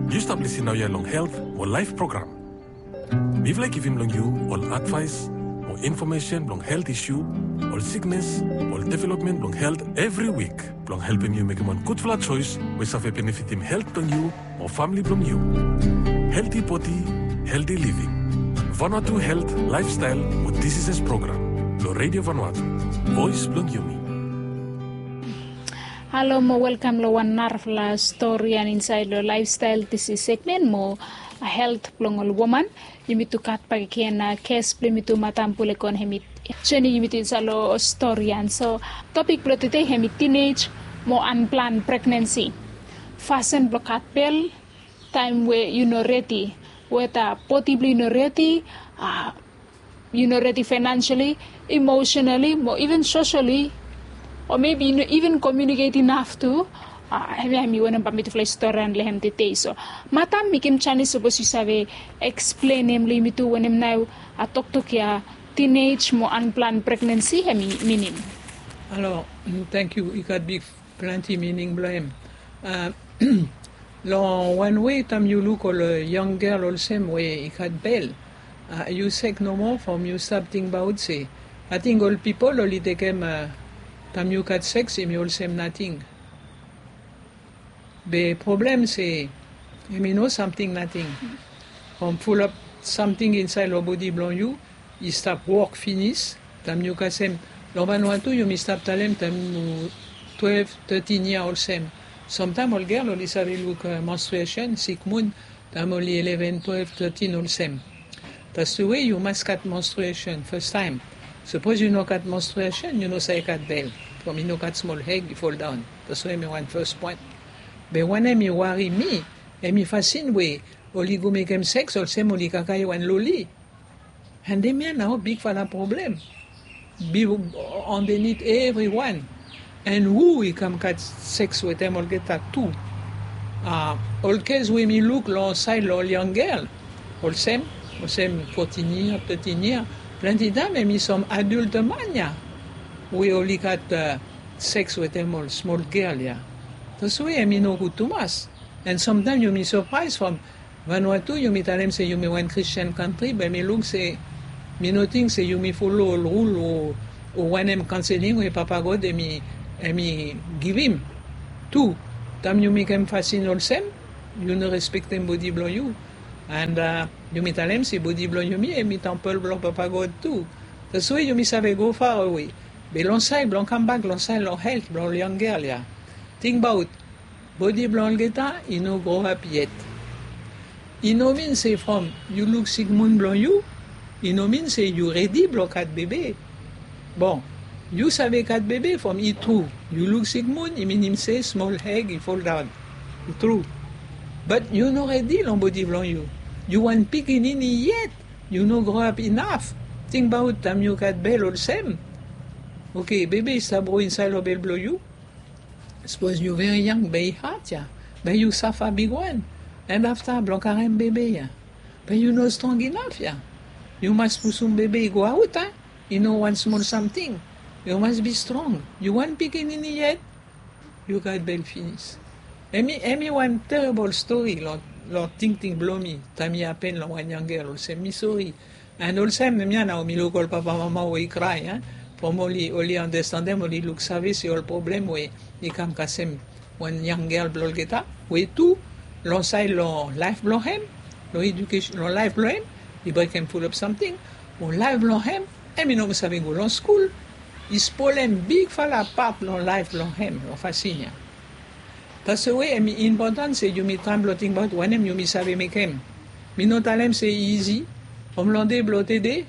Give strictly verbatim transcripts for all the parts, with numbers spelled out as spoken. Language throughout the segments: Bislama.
Yu stap lisin naoia long Health mo Laef program. Mifala i givim long yu ol advaes mo infomesen blong helt isu, ol siknes, ol developmen blong helt evri wik, blong helpem yu mekem wan gudfala joes we save benefitim helt blong yu mo famili blong yu. Helti bodi, helti living. Vanuatu Helt, Laefstael mo Diseases program long Radio Vanuatu, voes blong yumi. Halo mo welkam long wan narafala storian insaed long Laefstael Disis segmen mo helt blong ol woman. Yumi tu gat bakegen ges blong yumi tu, Madam Pulekon, hemi joenem yumi tu insaed long storian. So topik blong tede hemi tinej mo anplan pregnensi. Fasin blong gat bel taem we yu no redi, weta bodi blong yu no redi, a, yu no redi financially, emotionally, mo even socially, o maybe yu no even communicate enough tu. Hemia hemi wanem bae mitufala i storian long hem tede. So Madam, mekem janis sapos yu save eksplenem long yumi tu wanem nao a toktok ia tinej mo anplan pregnensi hemi minim. Halo, tangkiu. I gat big plante mining blong hem. Long wan wei, taem yu luk ol yang gel olsem we i gat bel, yu sek nomo from yu stap tingbaot se, ating ol pipol oli tekem taem yu gat seks hemi olsem nating. Be problem se hemi no samting nating. From fulap samting insaed long bodi blong yu i stap wok finis. Taem yu kasem, long Vanuatu yumi stap talem taem yu twelve, thirteen yia olsem. Samtaem ol gel oli save luk menstruation, sikmun, taem oli eleven, twelve, thirteen olsem. That's the way yu mas gat menstruation fastaem. Sapos yu no gat menstruation, yu no save gat bel. From i no gat smol eg i foldaon. That's why hemi wan fas poen. Be wanem i wari mi, hemi fasin we oli go mekem seks olsem oli kakae wan loli. And hemia nao bigfala problem. Be underneath evriwan. And hu i kam gat seks wetem olgeta tu. Ol kes we mi luk long saed long ol yang gel olsem, olsem fourteen yia, thirteen yia, plante taem hemi sam adult man ya we oli gat seks wetem ol smol gel ya. That's why hemi no gud tumas. And samtaem yumi sapraes from Vanuatu, yumi talem se yumi wan Christian kantri, be mi luk se, mi no ting se yumi folo ol rul o wanem kanseling we Papa God hemi, hemi givim. Tu, taem yu mekem fasin olsem, yu no respektem bodi blong yu. And yumi talem se bodi blong yumi hemi tempel blong Papa God tu. That's why yumi save go farawe. Be long saed blong kambak long saed long helt blong ol yang gel ya, tingbaot, bodi blong olgeta i no groap yet. I no min se from yu luk sikmun blong yu, i no min se yu redi blong gat bebe. Bon, yu save gat bebe from i tru. Yu luk sikmun, i minim se smol eg i foldaon. I tru. But yu no redi long bodi blong yu. Yu wan pikinini yet. Yu no groap inaf. Tingbaot taem yu gat bel olsem. Oke, bebe i stap gro insaed long bel blong yu. Sapos yu veri yang, be i had ya. Be yu safa bigwan. And afta blong karem bebe ya, be yu no strong inaf ya. Yu mas pusum bebe i go aot, a. I no wan smol samting. Yu mas bi strong. Yu wan pikinini yet. Yu gat bel finis. Hemi, hemi wan terebol stori long, long tingting blong mi taem i hapen long wan yang gel olsem, mi sori. And olsem hemia nao mi luk ol papamama we i krae, a. From oli, oli andastandem, oli luksave se ol problem we i kam kasem wan yang gel blong olgeta we tu long saed long laef blong hem, long edukesen, long laef blong hem, i brekem fulap samting. Mo laef blong hem, hemi no moa save go long skul. I spolem bigfala pat long laef blong hem long fasin ya. That's why hemi impotan se yumi traem blong tingbaot wanem yumi save mekem. Mi no talem se i izi. From long dei blong tede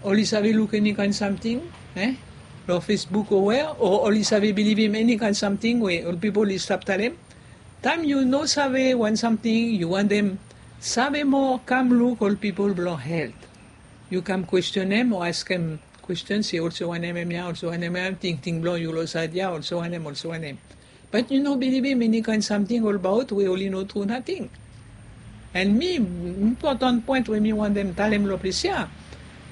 oli save luk eni kaen samting, e, long Facebook o wea, o oli save bilivim eni kaen samting we ol pipol i stap talem. Taem yu no save wan samting, yu wantem save moa, kam luk ol pipol blong helt. Yu kam kwestionem o askem kwestion se olsem wanem hemia, olsem wanem hemia, tingting blong yu long saed ya, olsem wanem, olsem wanem. But yu no bilivim eni kaen samting olbaot we oli no tru nating. And mi, impotan poen we mi wantem talem long ples ya,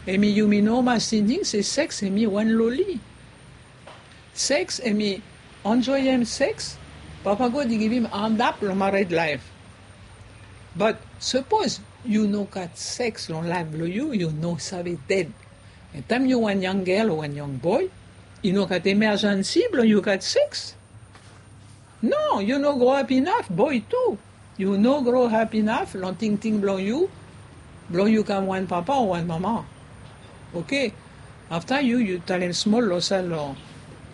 hemi yumi no mas tingting se seks hemi wan loli. Seks hemi, enjoem seks, Papa God i givim adap long mared laef. But sapos yu no gat seks long laef blong yu, yu no save ded. Taem yu wan yang gel o wan yang boe, i no gat emerjensi blong yu gat seks. No, yu no grow up inaf, boe tu. Yu no grow up inaf long tingting blong yu blong yu kam wan papa o wan mama. Oke. Afta yu yu talem smol long sal long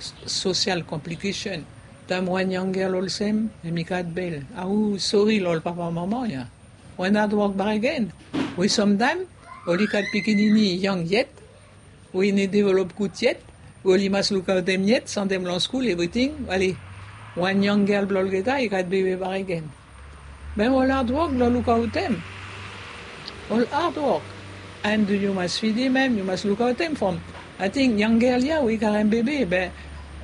sosial komplikesen. Taem wan yang gel olsem, em i gat bel, au sori long ol papa mama ya. Wan adwok baregen. We samtaem oli gat pikinini yang yet, we i no develop gud yet, we oli mas lukaotem yet, sendem long skul, evriting. Ale, wan yang gel blong olgeta i gat bebe baregen. Be ol adwok blong lukaotem, ol adwok. And yu mas fidim em, yu mas lukaotem from, ating yang gel ya we i karem bebe, be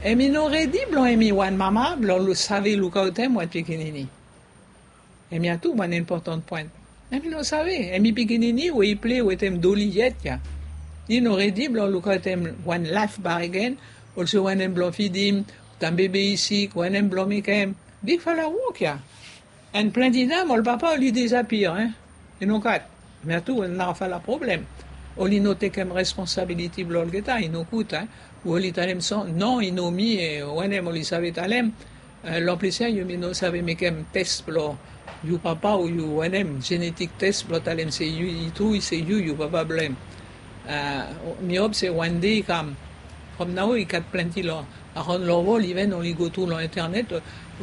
em i no redi blong em i wan mama blong save lukaotem wan pikinini. Em ya tu wan impoten poen. Em i no save, em i pikinini we i ple wetem doli yet ya. I no redi blong lukaotem wan laef baregen, olse wanem blong fidim, taem bebe i sik, wanem blong mekem. Bigfala wok ya. And plante taem ol papa oli disapia, e. I no gat. Em ya tu wan narafala problem. Oli no tekem responsabiliti blong olgeta, i no gud, e. We oli talem so, no, i no mi, e, wanem oli save talem. E, long ples ya yumi no save mekem tes blong yu papa o yu wanem, jenetik tes blong talem se yu, i tru se yu, yu papa blong em. A, mi hop se wan dei i kam. From nao i gat plante long, aron long wol, iven oli go tru long internet,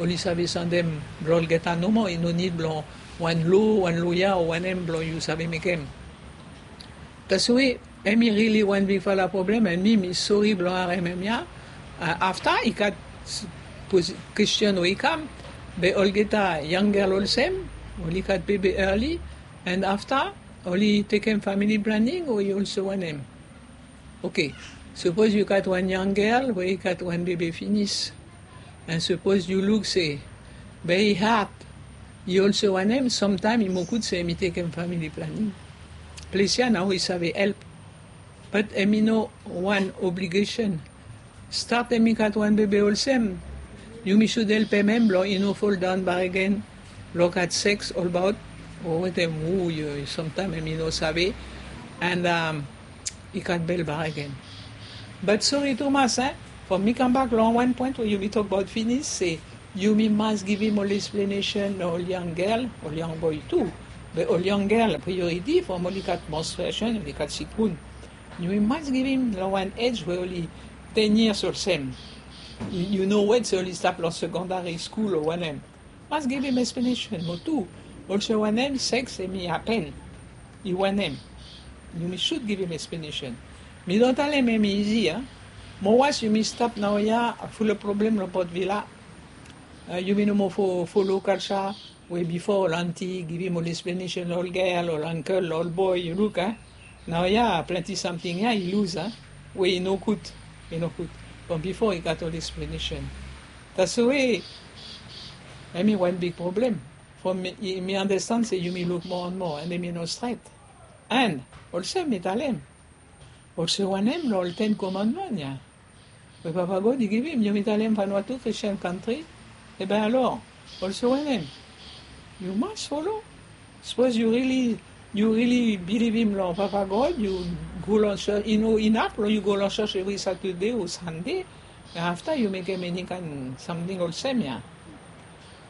oli save sendem blong olgeta nomo, i no nid blong wan lo, wan loya o wanem blong yu save mekem. Taswe em i rili wan bigfala problem, and mi mi sori blong harem em ya. A, afta i gat s-, poz-, kwestion we i kam, be olgeta yang gel olsem, oli gat bebe early, and afta oli tekem famili planing o i olse wanem. Oke, sapos yu gat wan yang gel we i gat wan bebe finis, and sapos yu luk se be i had, i olse wanem, samtaem i moa gud se em i tekem famili planing. Ples ya nao i save help. But em i no wan obligesen. Stat em i gat wan bebe olsem, yumi sud helpem em blong i no foldaon bakegen long gat seks olbaot, o wetem hu yu, samtaem em i no save, and, am, i gat bel bakegen. But sori tumas, e, from mi kambak long wan poen we yumi tokbaot finis se yumi mas givim ol eksplenesen long ol yang gel, ol yang boe tu. Be ol yang gel, prioriti from oli gat menstruation, oli gat sikbun. Yumi mas givim long wan ej we oli ten years olsem. Yu, yu no wet se oli stap long sekondari skul o wanem. Mas givim eksplenesen moa tu. Olse wanem, seks em i hapen. I wanem. Yumi sud givim eksplenesen. Mi no talem em i izi, a. Moa was yumi stap naoia, fulap problem long Port Vila. A, yumi no moa fo-, folo kalsa we bifo ol anti i givim ol eksplenesen long ol gel, ol angkel, long ol boe, yu luk, a. Naoia plante samting ya i luz, a. We i no gud, i no gud. From bifo i gat ol eksplenesen. Taswe em i wan big problem. From mi, mi andastan se yumi luk moa and moa, and em i no stret. And olsem mi talem, olse wanem long ol Ten Komandman ya we Papa God i givim, yumi talem Vanuatu Christian country, e ben alor, olse wanem, yu mas folo. Sapos yu rili, yu rili bilivim long Papa God, yu go long church, i no inaf long yu go long church evri Satode o Sande, afta yu mekem eni kaen samting olsem ya.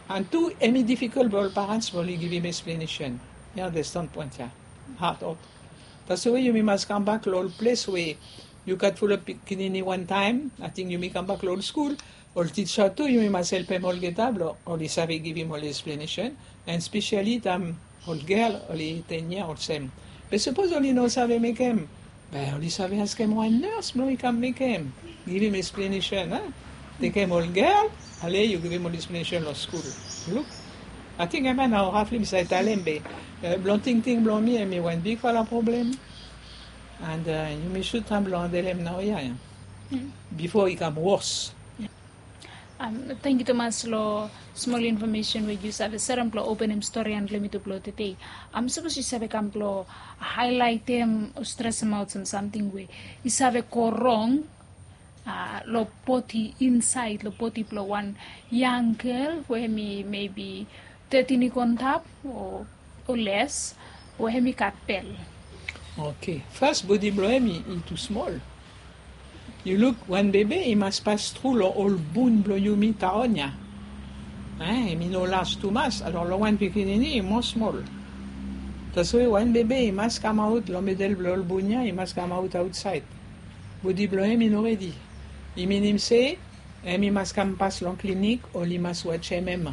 And tu, em i difikol blong ol parents blong oli givim eksplenesen. Mi andastan poen ya. Had ot. Taswe yumi mas kambak long ol ples we yu gat fulap pikinini wantaem, ating yumi kambak long ol skul, ol tija tu, yumi mas helpem olgeta blong oli save givim ol eksplenesen, and spesiali taem ol gel oli ten yia olsem. Be sapos oli no save mekem, be oli save askem wan nurse blong i kam mekem, givim eksplenesen, a? Tekem ol gel, ale yu givim ol eksplenesen long skul. Luk, ating em ya nao rafli mi save talem be, e, blong tingting blong mi, em i wan bigfala problem. And, e, yumi sud tram blong andelem naoia ya. Bifo i kam wos. Am, tangkiu tumas long smol infomesen we yu save serem blong openem stori and long mitu blong tede. Am, sapos yu save kam blong haelaetem o stresemaot sam samting we i save go rong, a, long bodi, insaed long bodi blong wan yang gel we em i mebi tetin i go antap o les we hemi gat bel. Okay, fas bodi blong hem i tu smol. Yu luk, wan bebe i mas pas tru long ol bun blong yumi taon ya. Em i no las tumas, alor long wan pikinini i moa smol. Taswe wan bebe i mas kamaot long medel blong ol bun ya, i mas kamaot aotsaed. Bodi blong hem i no redi. I minim se hem i mas kam pas long klinik, oli mas wajem hem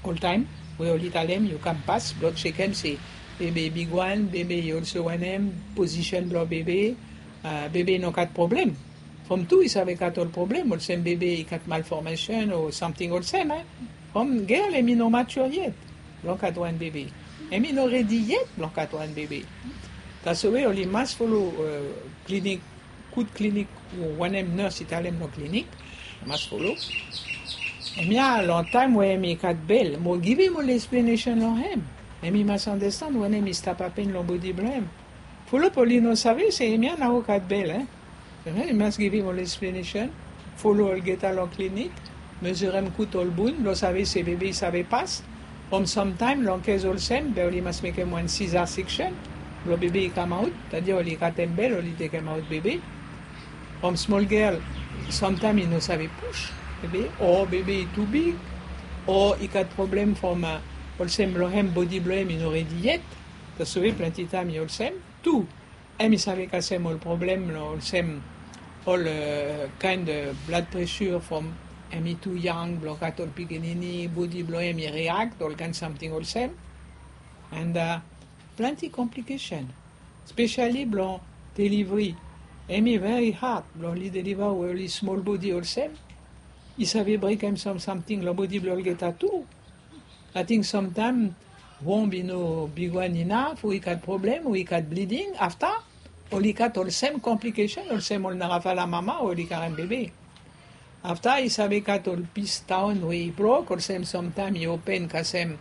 oltaem. We oli talem yu kam pas blong jekem se bebe i bigwan, bebe i olso wanem, pozisen blong bebe, bebe i no gat problem. From tu i save gat ol problem, olsem bebe i gat malformesen o samting olsem. From gel hem i no mature yet blong gat wan bebe. Hem i no redi yet blong gat wan bebe. Taswe oli mas folo klinik, gud klinik, wanem nes i talem long klinik, mas folo. Hemia long taem we hem i gat bel, mo givim ol eksplenesen long hem. Hem i mas andastan wanem i stap hapen long bodi blong hem. Fulap oli no save se hemia nao gat bel. I mas givim ol eksplenesen, folo olgeta long klinik, mezirem gud ol bun blong save se bebe i save pas. From samtaem long kes olsem be oli mas mekem wan siza seksen blong bebe i kamaot. Tadia oli katem bel, oli tekemaot bebe. From smol gel, samtaem i no save pus bebe, o bebe i tu big, o i gat problem from olsem blong hem, bodi blong hem i no redi yet. Taswe plante taem i olsem tu. Hem i save kasem ol problem long olsem ol kaen blad presur from hem i tu yang blong gat ol pikinini, bodi blong hem i riak, ol kaen samting olsem. And plante komplikesen, spesiali blong delivri. Hem i veri had blong oli deliva we oli smol bodi olsem. I save brekem sam samting long bodi blong olgeta tu. Ating samtaem womb i no bigwan inaf, we i gat problem, we i gat bliding, afta oli gat olsem komplikesen olsem ol narafala mama we oli karem bebe. Afta i save gat ol pis taon we i brok, olsem samtaem i open kasem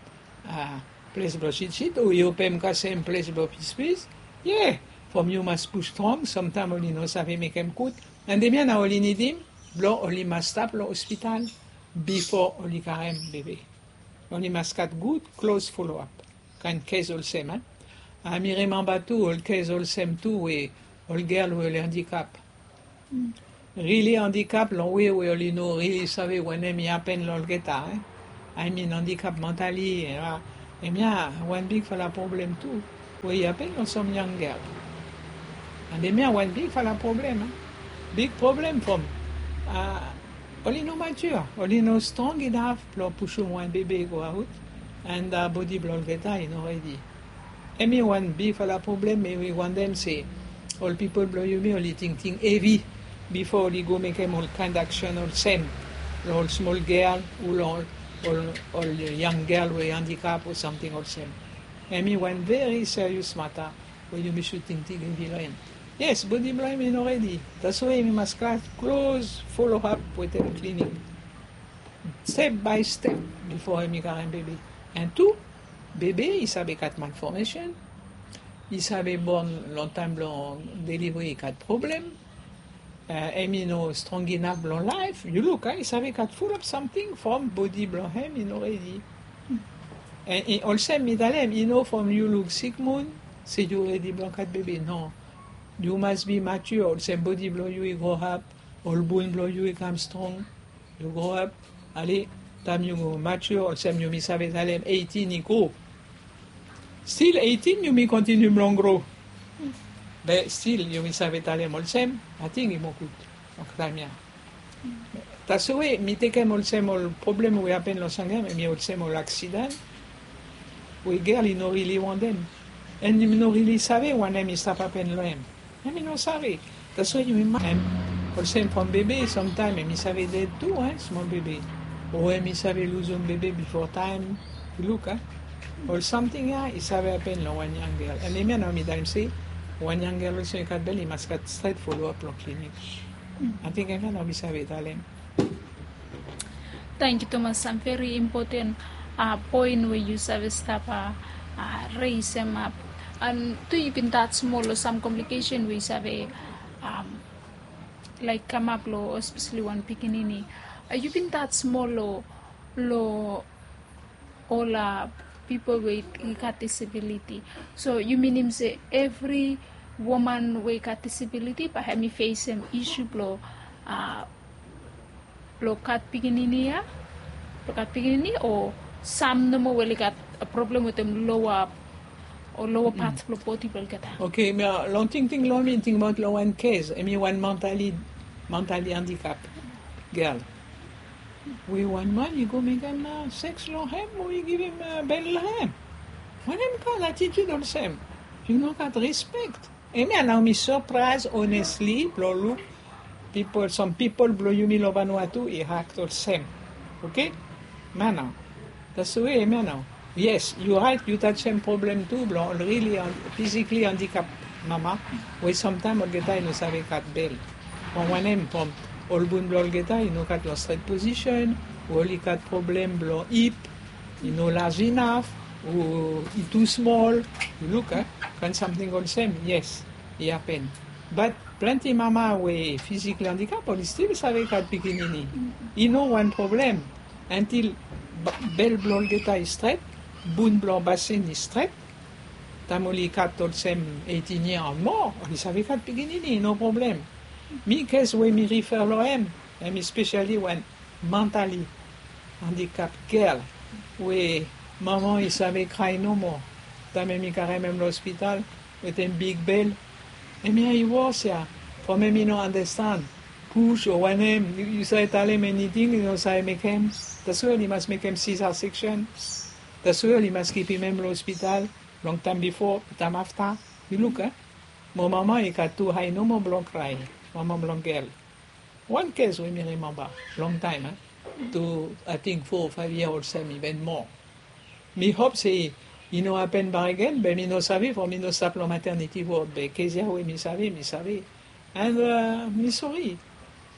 ples blong sitsit o i open kasem ples blong pispis. Ye, from yu mas pus strong, samtaem oli no save mekem gud. And hemia nao oli nidim blong oli mas stap long ospital bifo oli karem bebe. Oli mas gat gud klos foloap. Kaen kes olsem. A mi rimemba tu ol kes olsem tu we ol gel we oli andikap. Rili andikap long we we oli no rili save wanem i hapen long olgeta. A i min andikap mantali. Hemia wan bigfala problem tu we i hapen long sam yang gel. And hemia wan bigfala problem. Big problem from oli no mature, oli no strong inaf blong pusum wan bebe i go aot. And bodi blong olgeta i no redi. Hemi wan bigfala problem. Mi wantem se ol pipol blong yumi oli tingting hevi bifo oli go mekem ol kaen aksen olsem long ol smol gel o long ol yang gel we andikap o samting olsem. Hemi wan veri serious mata we yumi sud tingting hevi long hem. Yes, bodi blong hem i no redi. Taswe yumi mas gat klos foloap wetem klinik, step by step, bifo hemi karem bebe. And tu, bebe i save gat malformesen, i save bon long taem blong delivri i gat problem. Hemi no strong inaf blong laef. Yu luk, i save gat fulap samting from bodi blong hem i no redi. And olsem mi talem, i no from yu luk sikmun se yu redi blong gat bebe, no. Yu mas bi mature, olsem bodi blong yu i groap, ol bun blong yu i kam strong. Yu groap, ale, taem yu mature, olsem yumi save talem eighteen i go. Stil eighteen yumi kontiniu blong gro. Be stil yumi save talem olsem, ating i moa gud long taem ya. Taswe mi tekem olsem ol problem we hapen long Sangem, hemi olsem ol aksiden we gel i no rili wantem. And i no rili save wanem i stap hapen long hem. Hemi no save. Taswe yumi mas, olsem from bebe, samtaem hemi save ded tu, smol bebe. O hemi save luzum bebe bifo taem. Yu luk, ol samting ya i save hapen long wan yang gel. And hemia nao mi talem se wan yang gel olsem i gat bel i mas gat stret foloap long klinik. Ating hemia nao mi save talem. Tangkiu tumas, sam veri impoten poen we yu save stap resem ap. And tu yu bin tas moa long sam komplikesen we yu save laek kamap long espeseli wan pikinini. Yu bin tas moa long ol pipol we i gat disabiliti. So yu minim se evri woman we i gat disabiliti bae hem i fesem isu blong, a, blong gat pikinini ya, blong gat pikinini, o sam nomo we oli gat problem wetem loa, o loa pat blong bodi blong olgeta? Oke, mi, a, long tingting long mi, tingbaot long wan kes, hemi wan mantali, mantali andikap gel. We wan man i go mekem, a, seks long hem, o i givim, a, bel long hem. Wanem kaen atitiud olsem? Yu no gat rispek. Hemia nao mi sapraes, onesli, blong luk pipol, sam pipol blong yumi long Vanuatu i akt olsem. Oke? Nao nao. That's the way, hemia nao. Yes, yu raet, yu tajem problem tu blong ol rili an-, fizikli andikap mama, we samtaem olgeta i no save gat bel. From wanem? From ol bon blong olgeta i no gat long stret posisen, o oli gat problem blong ip, i no laj inaf, o i tu smol. Yu luk, a, kaen samting olsem, yes, i hapen. Bat plante mama we fizikli andikap, oli stil save gat pikinini. I no wan problem. Antil ba-, bel blong olgeta i stret, bon blong basen i stret, taem oli gat olsem eitin yia o moa, oli save gat pikinini, no problem. Mi kes we mi rifer long hem, hemi spesiali wan mantali andikap gel we mama i save krae nomo taem hemi karem hem long ospital wetem big bel. Hemia i wos ya, from hemi no andastan pus o wanem, yu, yu save talem eniting, yu no save mekem. That's why oli mas mekem C section. That's why oli mas kipim hem long ospital, long taem bifo, taem afta. Yu luk, a? Mo mama i gat tu ae nomo blong krae, mama blong gel. Wan kes we mi rimemba long taem, a? Tu, ating fo o faev yia olsem, iven moa. Mi hop se i no hapen bakegen, be mi no save, from mi no stap long maternity ward, be kes ya we mi save, mi save. And, a, mi sori.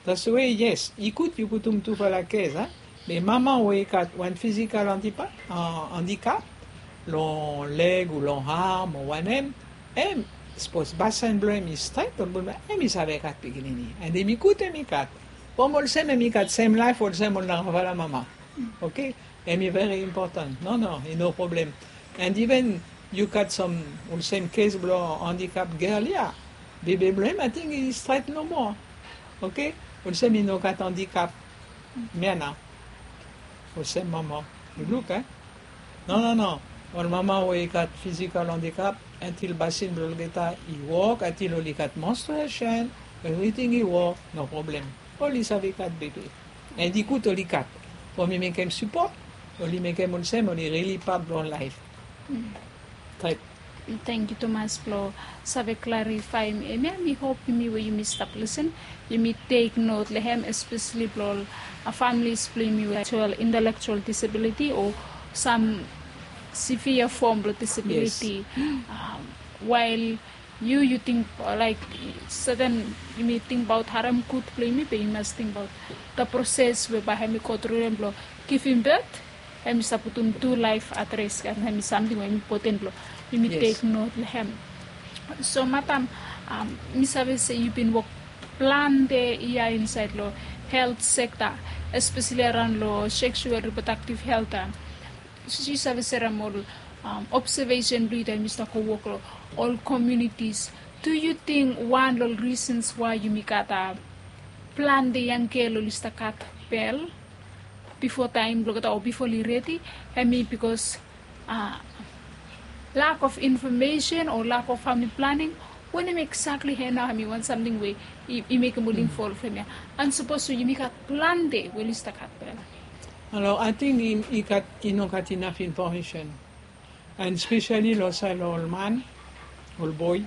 That's the way, yes, i gud yu putum tufala kes, a? Be mama we i gat wan fizikal andipa-, a, andikap, long leg o long arm o wanem, hem, sapos basen blong hem i stret, ol bon, hem i save gat pikinini. And hemi gud hemi gat. From olsem hemi gat sem laef olsem ol narafala mama. Oke? Hemi very important. No, no, i no problem. And iven yu gat sam olsem kes blong andikap gel ya. Bebe blong hem, ating i stret nomo. Oke? Olsem i no gat andikap. Mia nao. Olsem mama. Yu luk, a? No, no, no. Ol mama we i gat fizikal andikap, antil basen blong olgeta i wok, antil oli gat menstruation, evriting i wok, no problem. Oli save gat bebe. And i gud oli gat. From i mekem sipot, oli mekem olsem, oli rili pat blong laef. Tangkiu tumas blong save klarifaem hemia. Mi hop yumi we yumi stap lisen, yumi tek not long hem, espeseli blong ol, a, familis blong yumi we gat intelektual disabiliti o sam severe fom blong disabiliti. Wael yu, yu ting, a, laek, seten yumi tingbaot harem gud blong yumi, be yumi mas tingbaot the process we bae hemi go tru long hem blong givim birth. Hemi save putum tu laef at risk, and hemi samting we hemi impoten blong yumi tek not long hem. So madam, mi save se yu bin wok plante yia insaed long helt sekta, espeseli araon long seksual riprodaktiv helt. Yu save serem ol obsevesen blong yu taem yu stap go wok long ol komunitis. Do yu ting wan long ol risens wae yumi gat plante yang gel oli stap gat bel bifo taem blong olgeta o bifo oli redi, hemi bikos lak of infomesen o lak of famili planing? Wanem eksakli hemia nao hemi wan samting we i mekem ol involv hemia? And sapos yumi gat plante we oli stap gat bel. Halo, ating i gat, i no gat inaf infomesen. And speseli long saed long ol man, ol boe,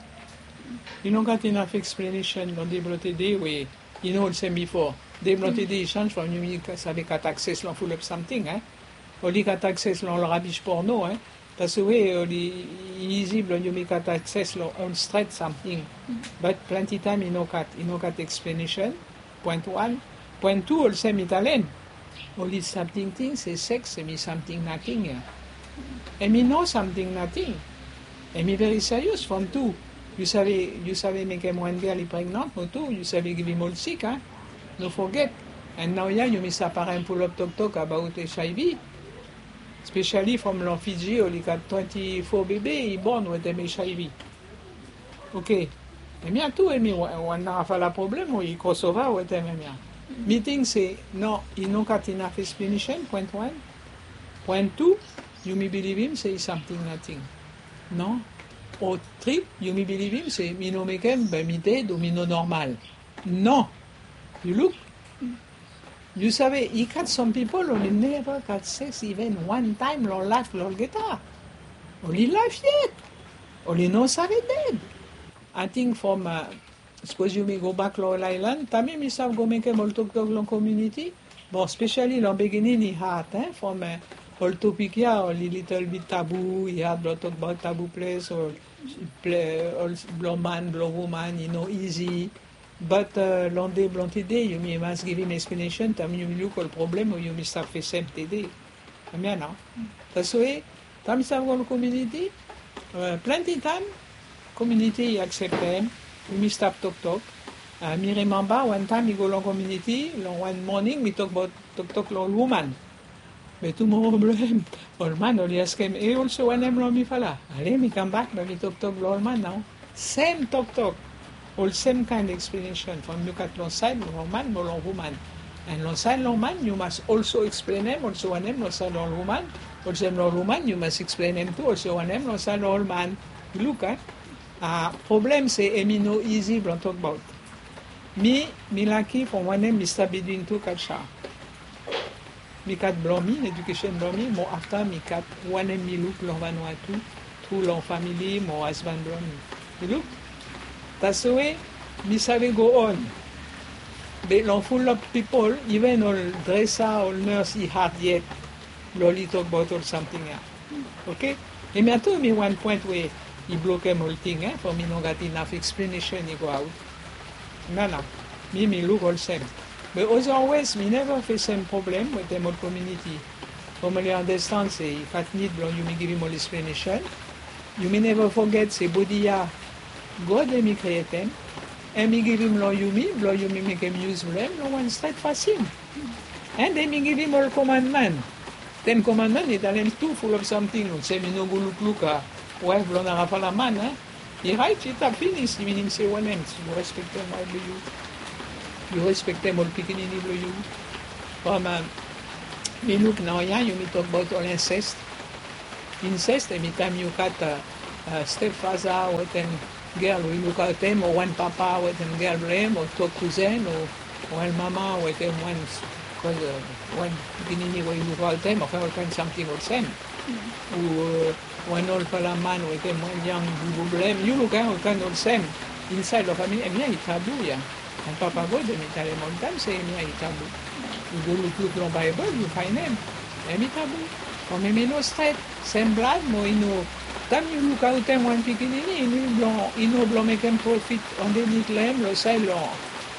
i no gat inaf eksplenesen long dei blong tede we i no olsem bifo. Dei blong tede i senj from yumi save gat akses long fulap samting, e. Oli gat akses long ol rabis porno, e. That's the way oli, i izi blong yumi gat akses long ol stret samting. Bat plante taem i no gat, i no gat eksplenesen. Poen wan. Poen tu, olsem mi talem, oli stap tingting se seks hemi samting nating ya. Hemi no samting nating. Hemi veri serious from tu. Yu save, yu save mekem wan gel i pregnant, mo tu yu save givim ol sik, a. No foget. And naoia yumi stap harem fulap toktok abaot HIV. Spesiali from long Fiji oli gat twenty-four bebe i born wetem H I V. Oke. Hemia tu hemi wan narafala problem we i crossover wetem hemia. Mi ting se no, i no gat inaf explanation, point one. Point two, yumi bilivim se i samting nating. No. O tri, yumi bilivim se mi no mekem be mi ded o mi no normal. No. Yu luk. Yu save, i gat some pipol oli neva gat sex iven wan taem long laef blong olgeta. Oli laef yet. Oli no save ded. Ating from sapos yumi gobak long ol aelan, taem mi save go mekem ol toktok long komuniti. Bon, spesiali long beginning i had, from ol topik ya oli litel bit tabu, i had blong tokbaot tabu ples o blong man blong woman i no izi. Bat long dei blong tede yumi mas givim explanation taem yumi luk ol problem we yumi stap fesem tede. Hemia nao. Taswe taem mi stap go long komuniti, plante taem komuniti i akseptem. Yumi stap toktok. Mi rimemba wan taem mi go long komuniti long wan moning mi tokbaot toktok long ol woman. Be tumoro blong hem ol man oli askem, e, olsem wanem long mifala? Ale mi kambak be mi toktok long ol man nao. Sem toktok. Olsem kaen explanation from yu gat long saed long man mo long woman. An long saed long man yu mas olso eksplenem olsem wanem long saed long woman. Olsem long woman yu mas eksplenem tu olsem wanem long saed long ol man. Yu luk a. Problem se hemi no izi blong tokbaot. Mi, mi laki from wanem mi stap bitwin tu kalsa. Mi gat blong mi, edukesen blong mi, mo afta mi gat wanem mi luk long Vanuatu, tru long famili mo hasban blong mi. Yu luk. Taswe mi save go on. Be long fulap pipol, iven ol dresa, ol nurse i had yet blong oli tokbaot ol samting ya. Oke. Hemia tu hemi wan poen we i blokem ol ting, from i no gat inaf eksplanesen i go aot. Nana, mi mi luk olsem. Be as always mi neva fesem problem wetem ol komuniti. From oli andastand se i gat nid blong yumi givim ol eksplanesen. Yumi neva foget se bodi ya God hemi krietem. Hemi givim long yumi blong yumi mekem yus blong hem long wan stret fasin. An hemi givim ol komandman. Ten komandman i talem tu fulap samting olsem i no go lukluk waef blong narafala man. I raet i tap finis, i minim se wanem? Yu respektem waef blong yu. Yu respektem ol pikinini blong yu. From mi luk naoia yumi tokbaot ol incest. Incest hemi taem yu gat stepfather wetem gel we i lukaotem, o wan papa wetem gel blong hem, o tu kuzen, o wan mama wetem wan, wan pikinini we i lukaotem, o ol kaen samting olsem. O wan olfala man wetem wan yang bubu blong hem. Yu luk a, ol kaen olsem insaed long famili, hemia i tabu ya. An Papa God hemi talem oltaem se hemia i tabu. Yu go lukluk long Baebol yu faenem. Hemi tabu. From hemi no stret, sem blad mo i no, taem yu lukaotem wan pikinini, i no blong, i no blong mekem profit andenit long hem, long saed long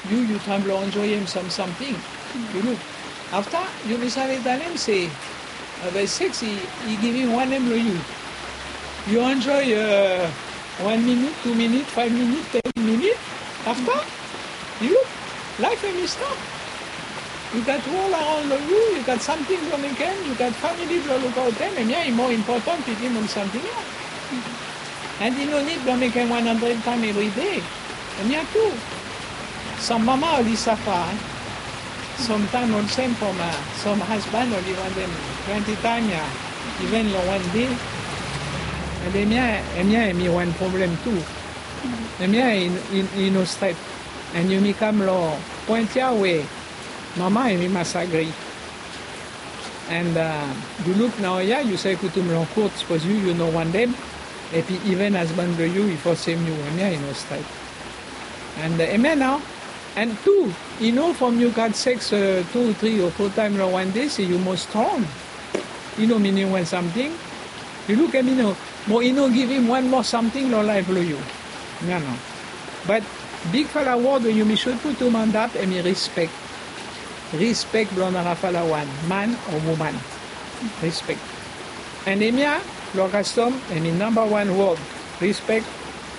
yu, yu taem blong enjoem sam samting. Yu luk. Afta yumi save talem se be sex i givim wanem long yu? Yu enjoy wan minit, tu minit, faef minit, ten minit. Afta yu luk, laef hemi stap. Yu gat wol araon long yu, yu gat samting blong mekem, yu gat famili blong lukaotem. Hemia i moa impotan bitim ol samting ya. An i no nid blong mekem wan handred taem evri dei. Hemia tu. Sam mama oli safa. Samtaem olsem from sam hasban oli wantem plante taem ya, iven long wan dei. An hemia, hemia hemi wan problem tu. Hemia i no stret. An yumi kam long poen ya we mama hemi mas agri. An yu luk naoia yu save putum long kot sapos yu, yu no wantem. Epi iven hasban blong yu i fosem yu, hemia i no stret. An hemia nao. An tu, i no from yu gat sex tu, tri o fo taem long wan dei se yu moa strong. I no minim wan samting. Yu luk, hemi no, mo i no givim wan moa samting long laef blong yu. Nano. Bat bigfala wod we yumi sud putum antap hemi rispek. Rispek blong narafala wan, man o woman. Rispek. An hemia long kastom hemi namba wan wod. Rispek,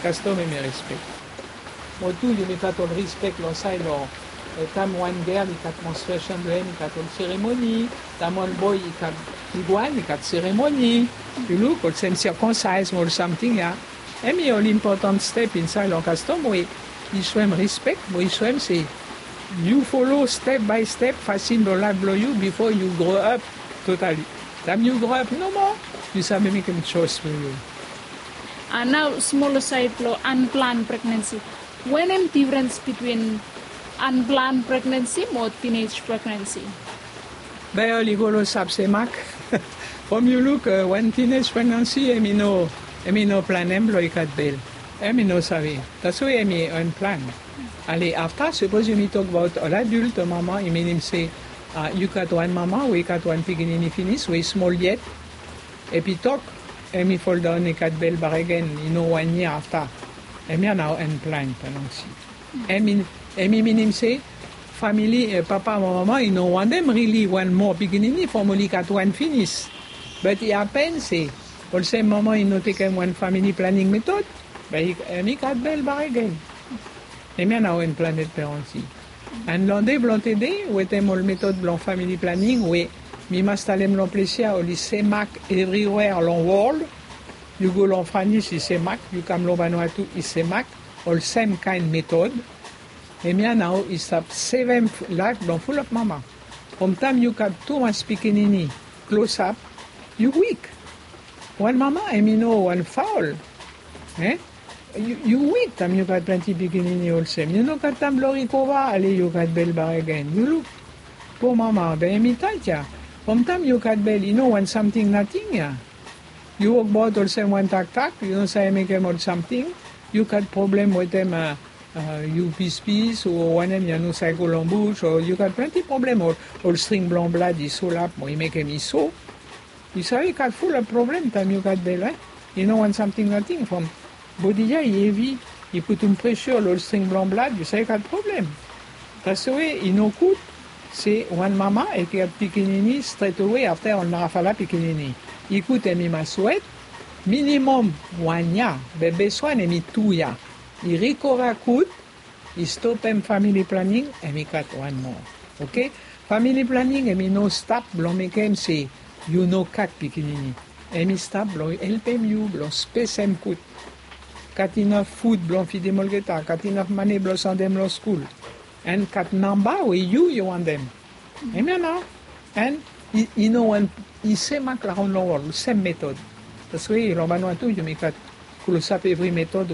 kastom hemi rispek. Mo tu yumi gat ol rispek long saed long Taem wan gel i gat menstruation blo hem i gat ol seremoni. Taem wan boy i gat iguan i gat seremoni. Yu luk olsem circoncise mo ol samting ya. Hemi ol important step insaed long kastom we i soem respek mo i soem se yu folo step by step fasin blo laef blo yu bifo yu grow up totali. Taem yu grow up nomo yu save mekem choice blo yu. Nao smol saed blo unplanned pregnancy. Wanem difrens bitwin unplanned pregnancy mo teenage pregnancy? Bae oli go long sap semak. From yu luk wan teenage pregnancy em i no em i no planem blong i gat bel. Em i no save. That's why em i unplanned. Ale afta sapos yumi tok abaot ol adult mama i minim se yu gat wan mama we i gat wan pikinini finis we i smol yet. Epi tok em i foldaon i gat bel bakegen i no wan yia afta. Em ya nao unplanned pregnancy. Em i minim se famili papa mo mama i no wantem rili wan moa pikinini from oli gat wan finis. Bat i hapen se olsem mama i no tekem wan famili planing metod, bae i gat bel bakegen. Em ya nao unplanned pregnancy. An long dei blong tede wetem ol metod blong famili planing we mi mas talem long ples ya oli semak evriwea long wol. Yu go long franis i semak, yu kam long banua tu i semak. Olsem kaen metod. Em ya nao i stap sevem laef blong fulap mama. From taem yu gat tumas pikinini klosap, yu wik. Wan mama em i no wan faol. Yu wik taem yu gat plante pikinini olsem yu no gat taem blong rikova ale yu gat bel bakegen yu luk. Po mama be em i taet ya. From taem yu gat bel i no wan samting nating ya. Yu wokbaot olsem wan taktak yu no save mekem ol samting. Yu gat problem wetem yu pispis o wanem ya no save go long bus o yu gat plante problem ol string blong blad i solap mo i mekem i so. Yu save gat fulap problem taem yu gat bel. I no wan samting nating from bodi ya i hevi i putum presha long ol string blong blad yu save gat problem. That's why i no gud se wan mama i gat pikinini stret awe afta ol narafala pikinini. I gud em i mas wet minimom wan yia. Be bes wan em i tu yia. I rikova gud. I stopem famili planing em i gat wan moa. Oke. Famili planing em i no stap blong mekem se yu no gat pikinini. Em i stap blong helpem yu blong spesem gud. Gat inaf fud blong fidim olgeta gat inaf mane blong sendem long skul. An gat namba we yu yu wantem. Em ya nao. An i no wan i semak laon long ol sem metod. That's why long banua tu yumi gat klosap evri metod.